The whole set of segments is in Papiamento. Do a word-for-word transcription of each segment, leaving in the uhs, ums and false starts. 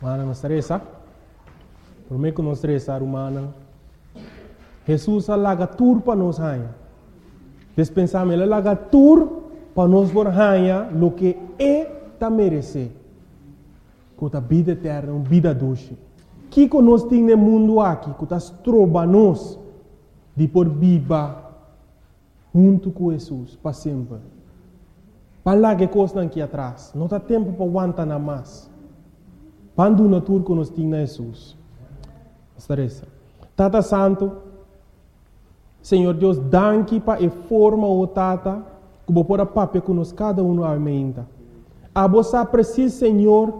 Mana nos ta resa. Promé ku nos resa, rumannan, Hesus a laga tur pa nos haña. Despensá mi, el a laga tur pa nos por haña loke e ta meresé, ku ta bida eterno, un bida dushi. Kiko nos tin den mundu aki ku ta stroba nos di por biba huntu ku Hesus pa semper? Ban laga e kosnan aki atras. No ta tempu pa wanta nan mas. Ban duna tur ku nos tin na Hesus. Nos ta resa. Tata Santu, Señor Dios, danki pa e forma, o Tata, ku bo por a papia ku nos kada un awe mainta. Abo sa presis, Señor,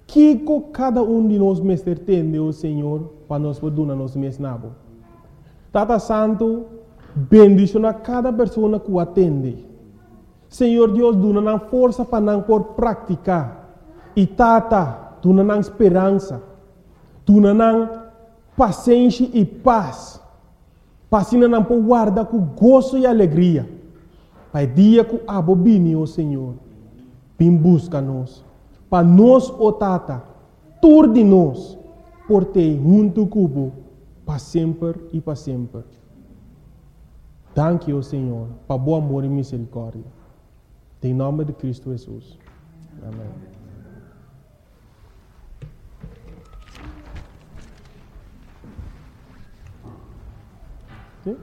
kiko kada un di nos mester tende, o Señor, pa nos por duna nos mes na bo. Tata Santu, bendishoná kada persona ku a tende. Señor Dios, duna nan forsa pa nan por praktiká. I Tata, duna nan speransa. Duna nan pasenshi i pas. Pa asina nan por warda ku goso i alegria pa e dia ku abo bini, o Señor, bin buska nos. Pa nos, o Tata, tur di nos por t'ei huntu ku bo pa semper i pa semper. Danki, o Señor, pa bo amor i miserikòrdia. Den nòmber di Kristu Hesus. Amèn. Sí?